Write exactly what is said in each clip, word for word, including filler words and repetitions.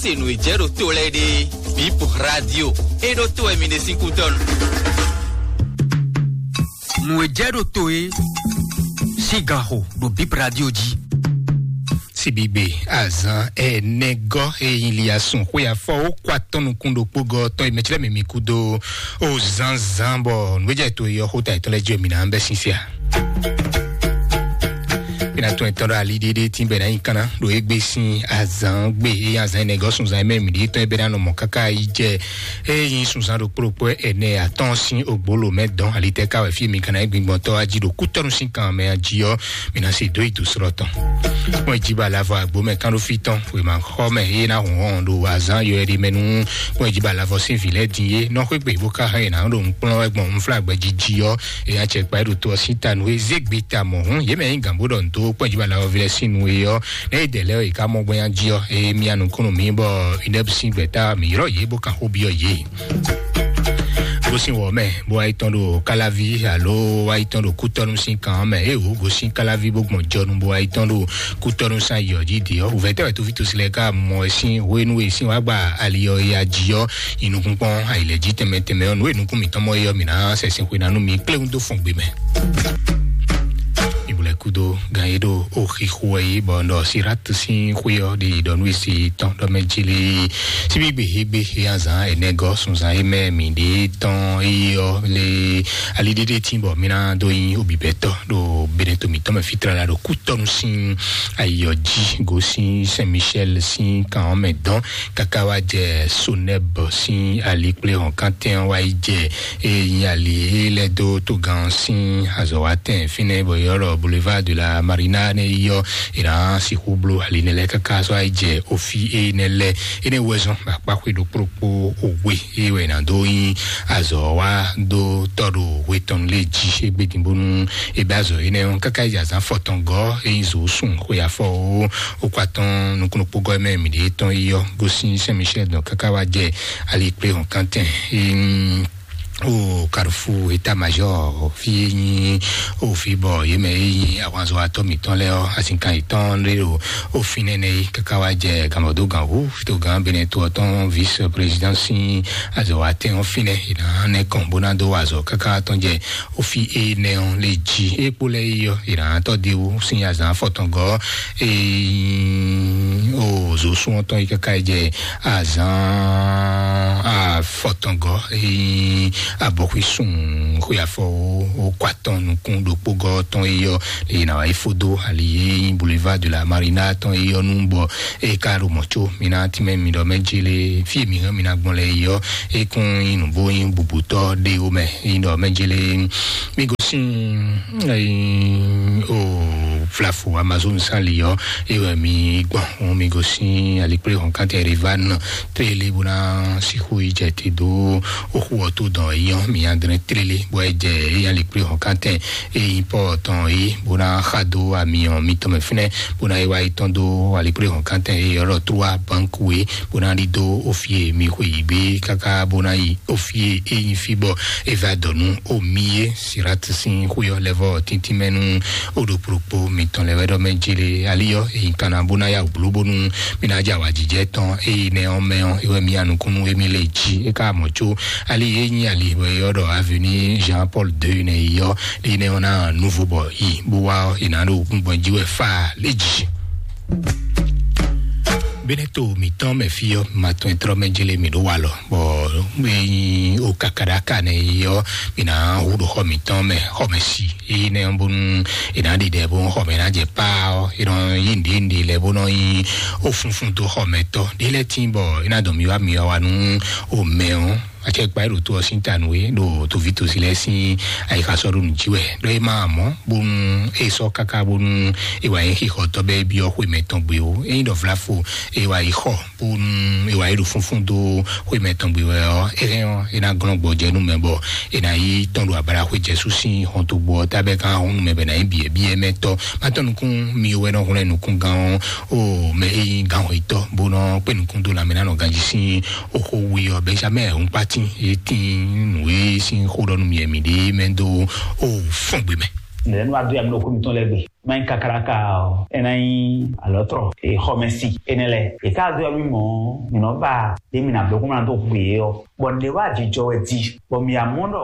Se nǔ e jɛ ɖo to lɛ́ɛ ɖe, Bip Radio, e ɖo to wɛ mi ɖe sín kútɔ́nu. Nǔ e jɛ ɖo to e sín ganxo ɖo Bip Radio jí. Sibigbe azan ɛnɛ gɔ́ e nyi li asun xwe afɔ ó kó atɔ́ nukún ɖokpó gɔ́ tɔn e mɛ clɛ́ mǐ mǐ kú dó ó zánzán bɔ nǔgbéjɛ to e ɔ́ xó ta yětɔn lɛ́ɛ jí wɛ mǐ ná bɛ́ sín se a? Mǐ ná tún ɛtɔ́ ɖo ali ɖéɖé tín bɛ ná nyi kanna ɖo égbé sín azan gbe e azan ɛnɛ gɔ́ sunzan e mɛ mǐ ɖíe tɔn e bɛ ná nɔ mɔ káká yi jɛ e nyi sunzan ɖokpó ɖokpó ɛnɛ atɔ́ɔ́n sín ogbolo mɛ dɔn alitɛ ká wɛ fí e mi kanna e gbingbɔntɔ́ wá jí ɖo kútɔ́nu sín kan mɛ jí ɔ́, mǐ ná se dó yi dǒ slɔ́ tɔn. Kpɔ́n jí ba lavɔ agbo mɛ kán ɖó fí tɔn wěma xɔ mɛ e ná hɔn hɔn ɖo azan yɔ ɛɖi mɛ nú kpɔ́n jí ba lavɔ sín vǐ lɛ́ɛ din é nɔ xwé gbe bó ká hɛn yě ná ɖo nukplɔ́n wɛ gbɔn nflágbɛ jí jí ɔ́, e nya cɛ kpa ɖo to ɔ́ sín ta nú e zé gbe ta mɔ̌ hǔn yě mɛ nyí gǎn bó ɖɔ nǔ dó kpɔ́n jí ba lavɔ ví lɛ́ɛ sín nu é ɔ́, nɛ é dɛ lɛ́ ɔ́, è ká mɔ gbɔn nya jí ɔ́, e mia nukún nú mǐ bɔ inɛbusín gbɛ̌ta mǐ ylɔ́ yě bó kan xó byɔ́ yě. Gosín wɔ mɛ bó wá yi tɔn ɖo káláví alo wá yi tɔn ɖo kútɔ́nú sín kan mɛ é wǒ gosín káláví bó gbɔn jɔnu bó wá yi tɔn ɖo kútɔ́nú sín ayɔ jí dě ɔ́, wǔvɛ́ tɛ́ wɛ tófítɔ́sí lɛ́ɛ ká mɔ ɛ sín hwenu e sín wá gba ali ɔ́ ya jí ɔ́, yi nukún kpɔ́n ayǐlɛ́jí tɛnmɛ tɛnmɛ ɔ́, nǔ e nukún mǐtɔn mɔ é ɔ́, mǐ ná sɛ sín xwe ná nú mi kpléwún dó fɔn gbe mɛ. Ìbúlẹ̀ kúdó gan e ɖo oxixo ɛ yi bɔ ɖɔ Sirat sín xwé ɔ́ ɖe yi ɖɔ nú esi tɔn ɖɔ mɛ jí lé síbí gbe hégbe e azan ɛnɛ gɔ́ sunzan e mɛ mǐ ɖe tɔn eye ɔ́ lé ali ɖéɖé tín bɔ mí ná dó nyi obibɛtɔ ɖo beneto mǐtɔn mɛ fitra la ɖo kútɔnu sín ayɔ jí gosín Saint Michel sín kan ɔ́ mɛ dɔn káká wá jɛ Sonɛb sín ali kplé hɔn kántɛn wá yi jɛ eye nyi ali e lɛ́ dó togán sín azɔ̌watɛn fínɛ́ bɔ yɔ́ ɖɔ Boulevard de la Marina nɛ́ yi ɔ́, è nǎ sixú bló ali nɛ́ lɛ́ɛ káká sɔ́ yi jɛ ofi énɛ́ lɛ́ɛ. Énɛ́ wɛ zɔ́n akpáxwé ɖokpó ɖokpó we é wɛ è nǎ dó nyi azɔ̌ wá dó tɔ́ ɖo hwe tɔn lé jí égbé din bónú é bɛ́ azɔ̌ énɛ́ ɔ́ káká yi azǎn fɔtɔngɔ́ é nyí zǒ sun xwe afɔ ó okó atɔ́ɔ́n nukúnnú kpógɔ́ mɛ mǐ ɖě tɔn yi ɔ́ gosín Saint Michel dɔn káká wá jɛ ali kplé hɔn kántɛn. O Carrefour état-major fí e nyí o fí bɔ yě mɛ e nyí ahwanzɔ́watɔ́ mǐtɔn lɛ́ɛ ɔ́, azinkan yětɔn lé ɖo o fínɛ́ nɛ́ é káká wá jɛ gǎnmɔdó gǎnwú togán Benɛto ɔ́ tɔn vice-président sín azɔ̌watɛn ɔ́ fínɛ́ è nǎ nɛ́ kɔn bó ná dó wa azɔ̌ káká tɔn jɛ o fí énɛ́ ɔ́ lé jí. É kpó lɛ́ yi ɔ́, è nǎ tɔ́ dé wú sín azǎn afɔtɔngɔ́ e nyí o zǒsún ɔ́ tɔn yi káká yi jɛ azǎn afɔtɔngɔ́ e nyí abɔxwísun xwe afɔ o kó atɔn nukún ɖokpógɔ́ tɔn yi ɔ́, lě e è nǎ wá yi fó dó ali e nyí Boulevard de la Marina tɔn yi ɔ́ nu bɔ é ka ɖo mɔ̌ có mi ná tínmɛ mi ɖɔ mɛ jélé fí e mi hɛn mi ná gbɔn lɛ yi ɔ́, é kún nyí nǔ bó nyí bubutɔ́ ɖé ó mɛ. Nyí ɖɔ mɛ jélé mi gosín o flafo Amazon sali ɔ́, é wɛ mi gbɔn mi gosín alikplé hɔn kántɛ rivan télé bó ná sixú yi jɛ te dó oxu ɔ́ tó dɔn é nyɔ́ mi adrɛn télé bó é jɛ é nyí alikplé hɔn kántɛ é nyí pɔ tɔn é bó ná xa dó ami ɔ́ mi tɔn mɛ fínɛ́ bó ná é wá yi tɔn dó alikplé hɔn kántɛ é ɔlɔ trua banque wé bó ná ɖi dó ofi e mi xwe yi gbé káká bó ná yi ofi e é nyí fí bɔ é va dɔ nú omi é Sirat sín xwé ɔ́ lɛ́ vɔ tíntín mɛ nú o ɖo kplokpo mitɔn lɛ́ wɛ ɖɔ mɛ jélé ali ɔ́ é nyí kanna bó ná ya wǔ bló bónú mi ná jɛ awǎjijɛ tɔn eye nɛ ɔ́ mɛ ɔ́ é wɛ mi ya nukúnnú émí lé jí é ká mɔ̌ có ali é nyí ali bɔ é ɔ́ ɖɔ avenue Jean Paul deux nɛ yi ɔ́ é nɛ ɔ́ ná nouveau bɔ yi bó wá ɔ́ é ná ɖo gbɔn jí wɛ fá lé jí. Benɛto mǐtɔn mɛ fí ɔ́ ma tɔn e trɔ́ mɛ jélé mǐ ɖó walɔ bɔ é nyí o kakaɖaka nɛ yi ɔ́ mǐ ná hu ɖo xɔ mǐtɔn mɛ xɔmɛsi énɛ́ ɔ́ bónú è nǎ ɖi ɖɛ bó xɔ mɛ ná jɛ pá ɔ́ é nɔ yí nǔɖé nǔɖé lɛ́ɛ bó nɔ nyí ó funfun dó xɔ mɛ tɔ́ ɖé lɛ́ɛ tín bɔ é ná dɔn mi wá mi wá wá nú o mɛ ɔ́. Acɛkpa e ɖo to ɔ́ sín ta nú é ɖo toví tosi lɛ́ɛ sín ayixa sɔ́ ɖo nǔ jí wɛ ɖɔ é má mɔ̌ bónú é sɔ́ káká bónú é wǎ nyí xixɔtɔ́ bɛ́ é byɔ́ xwe mɛ tɔn gbe ó. É nyí ɖɔ vlafo é wǎ yi xɔ bónú é wǎ yi ɖo fúnfún dó xwe mɛ tɔn gbe wɛ ɔ́, é hɛn ɔ́, é ná glɔ́n gbɔjɛ́ nú mɛ bɔ é ná yi tɔn ɖo abala xwe Jezu sín xɔntogbó ɔ́ tábɛ kan hún nú mɛ bɛ ná nyí biɛ̌biɛ́ mɛ tɔ́. Má tɔ́ nukún mi wɛ nɔ hwlɛ́n nukúngán ɔ́, o mɛ e nyí gǎnhwɛtɔ́ bó nɔ kpé nukún dó lanmɛ ná nɔ ganjí sín oxó we ɔ́, Benjamin Hunkpatin, é tín nǔ e sín xó ɖɔ nú mi wɛ mi ɖe mɛ dó o fɔ́n gbe mɛ. Nɛ̌ nú adó ya mi ɖo xó mitɔn lɛ́ɛ gbe? Mɛ nyí kakáɖaka ɔ́, é ná nyí alɔ̌trɔ e xɔmɛsi énɛ́ lɛ́ɛ. È ka dó ɔ́ mì mɔ̌, mǐ nɔ ba ɖě mǐ ná bló kó mɔ ná dó hu yě ɔ́. Bɔ nǔɖé wá jijɔ wɛ di, bɔ mǐ amɔ ɖɔ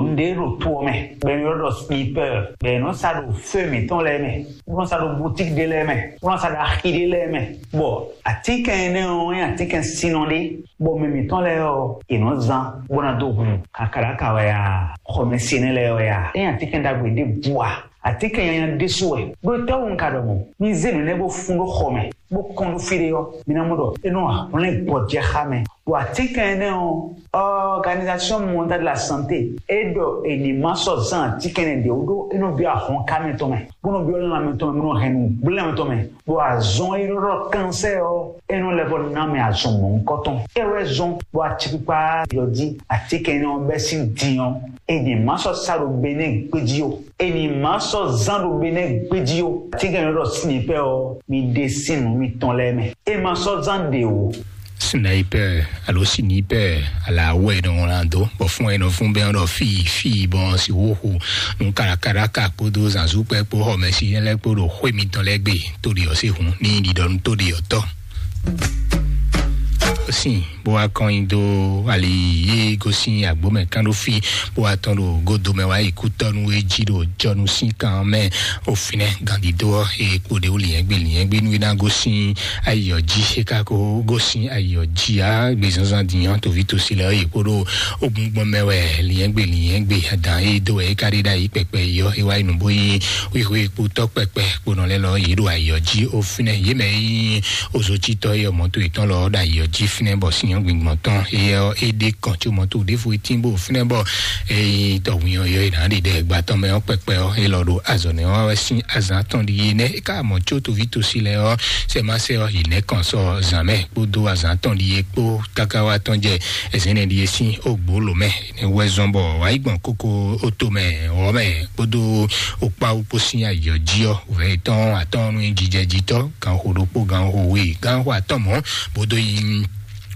nǔɖé ɖo to ɔ́ mɛ, bɔ è nɔ ylɔ́ ɖɔ slipɛ́, bɔ è nɔ sa ɖo fé mǐtɔn lɛ́ɛ mɛ, bó nɔ sa ɖo bútík ɖé lɛ́ɛ mɛ, bó nɔ sa ɖo axi ɖé lɛ́ɛ mɛ. Bɔ atínkɛn énɛ́ ɔ́ nyí atínkɛn sinnɔ ɖé, bɔ mɛ mǐtɔn lɛ́ɛ ɔ́, è nɔ zán bó ná dó hu kakáɖaka wɛ a, xɔmɛsi énɛ́ lɛ́ɛ wɛ a, é nyí atínkɛn ɖagbe ɖěbǔ a? Atínkɛn nyanya ɖésú wɛ. Ɖó étɛ́wú un ka ɖɔ mɔ̌? Mi zé nǔ énɛ́ bó fún ɖó xɔ mɛ, bó kɔn ɖó fí ɖé ɔ́, mi ná mɔ ɖɔ é nɔ hwlɛ́n gbɔjɛ́ xá mɛ. Ɖo atínkɛn énɛ́ ɔ́, Organisation Mondiale de la Santé é ɖɔ è ní ma sɔ́ zán atínkɛn énɛ́ ɖě wú ɖó é nɔ byɔ́ ahɔnká mɛtɔn mɛ, bó nɔ byɔ́ lanmɛ tɔn mɛ, bó nɔ hɛn nǔgblé mɛ tɔn mɛ. Ɖo azɔn e ɖɔ ɖɔ kansɛ́ ɔ́, é nɔ lɛ́ vɔ ná mɛ azɔn mɔ̌hunkɔtɔn. É wɛ zɔn bɔ acikpikpa yɔ jí atínkɛn énɛ́ ɔ́ bɛ́ sín din ɔ́, è ní ma sɔ́ sa ɖo Benɛ́ɛ gbéjí ó. È ní ma sɔ́ zán ɖo Benɛ́ɛ gbéjí ó. Atínkɛn e nɔ ɖɔ sinipɛ́ ɔ́, mi ɖe sín nǔ mitɔn lɛ́ɛ mɛ. È ma sɔ́ zán ɖě ó. Sinipɛ́ alo sinipɛ́ ala wɛ nɔ wlán dó, bɔ fún ɛ nɔ fún bɛn ɖɔ fí fí bɔ si wóxu nú kàràkàrà ká kpódó zǎnzúkpɛ kpó xɔmɛsi lɛ́ɛ kpó ɖo xwé mitɔn lɛ́ɛ gbe, tó ɖi ɔ́ sí hun ní ɖiɖɔ nú tó ɖi ɔ́ tɔ́. Sin bó wá kɔn nyi dó ali yé gosín agbómɛ kán ɖó fí, bó wá tɔn ɖo godomɛ wá yi kútɔ́nú e jí ɖo jɔnu sín kan mɛ. Òfinɛ gandidó ɔ́ e kpo ɖe wó liɛ́ngbé liɛ́ngbé nú é ná gosín ayiyɔ jí, é ka ko gosín ayiyɔ jí á gbezanzan din ɔ́, toví tosi lɛ ɔ́ yi kpó ɖó ogun gbɔn mɛ wɛ liɛ́ngbé liɛ́ngbé adǎn e dó wɛ é ka ɖe ɖ'ayǐ kpɛkpɛ yi ɔ́, é wá yi nǔ bó yí wíwí kpótɔ́ kpɛkpɛ kponɔ lɛ́ɛ lɔ yě ɖo ayɔ jí. Ó fínɛ́ yě mɛ e nyí ozotítɔ́ e mɔto yětɔn lɔ ɖo ayɔ jí fínɛ́ bɔ sinnyɔ́ gbingbɔn tɔn éyɛ́ ɔ́, é ɖe kɔn có mɔto ɖěvo é tín bó fínɛ́ bɔ é nyí tɔhwin ɔ́ yɔ é nǎ ɖe ɖɛ gba tɔn mɛ ɔ́ kpɛkpɛ ɔ́, é lɔ ɖo azɔ̌ nɛ́ wá wɛ sín azǎn tɔn ɖi é nɛ́. É ka mɔ có toví tosi lɛ́ɛ ɔ́, sɛ má sɛ ɔ́, yě nɛ́ kɔn sɔ zǎn mɛ kpódó azǎn tɔn ɖi é kpó káká wá tɔn jɛ ɛzɛ́nɛ ɖi é sín ó gbǒ lǒ mɛ. Nɛ wɛ zɔn bɔ wǎ yi gbɔn kókó ó to mɛ ɔ́ mɛ kpódó okpáwú kpó sín ayǐ ɔ́ jí ɔ́, wǔvɛ́ yětɔn atɔ́ɔ́n nú jijɛ jitɔ́, ganxo ɖokpó, ganxo we, ganxo atɔ́ɔ́n mɔ̌, bó dó nyí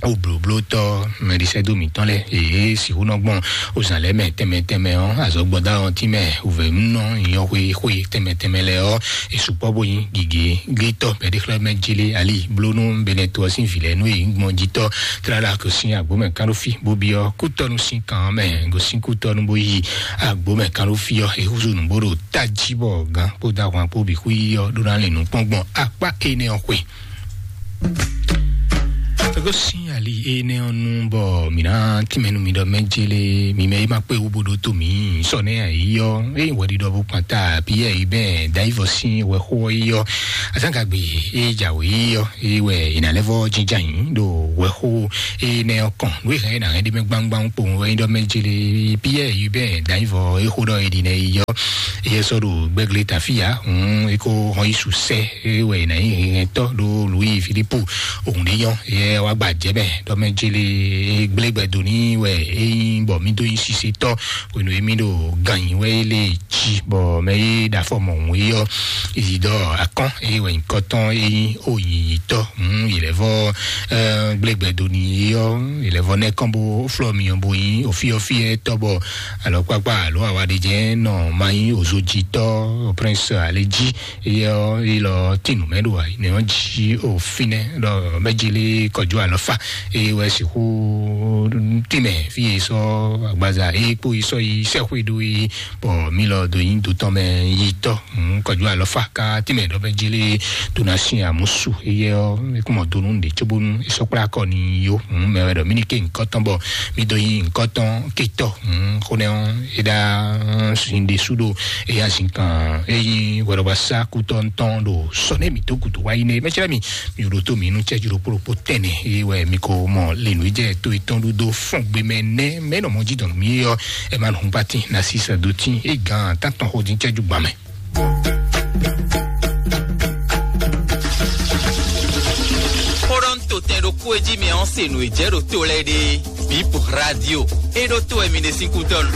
oblǒblótɔ́ mɛɖisɛ́dó mǐtɔn lɛ́ɛ, yě sixú nɔ gbɔn ozǎn lɛ́ɛ mɛ tɛnmɛ tɛnmɛ ɔ́, azɔ̌gbɔ́dá ɔ́ tínmɛ wǔvɛ́núnɔ nyɔ́xwé xwé tɛnmɛ tɛnmɛ lɛ́ɛ ɔ́, è sukpɔ́ bó nyí gǐgé glítɔ́ bɛ̌ɖexlɛ́mɛ jélé ali blónú Benɛto ɔ́ sín vǐ lɛ́ɛ nú yě nyí gbɔn jitɔ́. Tlala gosín agbǒmɛ kánɖófí, bó byɔ́ kútɔ́nú sín kan ɔ́ mɛ, gosín kútɔ́nú bó yi agbǒmɛ kánɖófí ɔ́, é húzú nǔ bó ɖo tají bɔ gǎn kpódó ahwan kpó bǐ xwí ɔ́ ɖó ná lin nǔ kpɔ́n gbɔn akpá énɛ́ ɔ́ xwe. Gosín ali énɛ́ ɔ́ nu bɔ mǐ ná tínmɛ nú mi ɖɔ mɛ jélé, mi mɛ e ma kpé wú bó ɖótó mǐ sɔ nɛ́ ayǐ ɔ́, ényí hwɛɖiɖɔ bó kpan ta Piyɛ́ɛ yi bɛn Dayivɔ sín wɛxó ɔ́ yi ɔ́, azǎngagbe e jǎwe yi ɔ́, é wɛ è nǎ lɛ́ vɔ́ jínjɔ́n ayǐ ɖo wɛxó énɛ́ ɔ́ kɔn. Nǔ e hɛn é nǎ hɛn ɖ'é mɛ gbámgbám kpowun wɛ é ɖɔ mɛ jélé Piyɛ́ɛ yi bɛn Dayivɔ é xó ɖɔ é ɖi nɛ yi ɔ́, é sɔ́ ɖo gbɛ́glé tafíya, hǔn é kó hɔn yí su sɛ́ é wɛ è nǎ nyí hɛntɔ́ ɖó Luwíi Filípu. Òun ɖé nyɔ́, é wá gba jɛ̌ mɛ ɖɔ mɛ jélé gblé gbɛ dó ní wɛ é nyí bɔ mí dó nyí sisetɔ́ hwenu e mí ɖo gan nyi wɛ é lé jí bɔ mɛ e ɖo afɔ mɔ̌hun é ɔ́, Izidɔ Akɔ́n é wɛ nyǐkɔ tɔn é nyí oyǐnyítɔ́. Hǔn yě lɛ́ vɔ gblé gbɛ dó ní é ɔ́, yě lɛ́ vɔ nɛ́ kɔn bó flɔ́ myɔ bó nyí ofíɔ́fíɛ́ tɔ́ bɔ alɔkpakpa alo awaɖejɛ nɔ ma nyí ozojitɔ́ Prince Alé jí. Éyɛ́ ɔ́, é lɔ tín nǔ mɛ ɖo ayǐ nɛ́ ɔ́ jí o fínɛ́ ɖɔ mɛjélé kɔjú alɔfa é wɛ sixú tínmɛ fí e sɔ́ agbaza é kpó yi sɔ́ yi sɛ́xwé ɖó é, bɔ mí lɔ do nyí dotɔn mɛ yi tɔ́. Kɔjú alɔfa ka tínmɛ ɖɔ mɛjélé tó ná sin amúsu. Éyɛ́ ɔ́, é kún mɔ do nú ɖě cóbónú é sɔ́ kplá kɔ n'i yó. Mɛ wɛ ɖɔ mí ní ké nyǐkɔ tɔn bɔ mí dó nyí nyǐkɔ tɔn kétɔ́. Xó nɛ́ ɔ́, é ɖá sin ɖésú ɖo éyá zin kan é nyí hwɛɖɔgbasá kútɔ́ tɔn ɖo sɔ nɛ́ mǐ dó gǔdo wá yi nɛ́. Mɛ̌ cɛ́ mì, mì ɖo tó mǐ nú cɛ́jú ɖokpó ɖokpó tɛnɛ é wɛ mi ko mɔ lenu jɛ to etɔn ɖu dó fɔn gbe mɛ nɛ́ mɛ nɔ mɔ jí dɔn mí ɔ́, ɛ ma nɔ hun pati na si sɛ do tí é gan tán tɔn xó dín cɛ́jú gbà mɛ. Xó ɖɔ ń to tɛn ɖokpó e jí mi ɔ́ se nǔ e jɛ ɖo to lɛ́ɛ ɖe. Bip Radio. E ɖo to e mi ɖe sín kútɔ́ nu.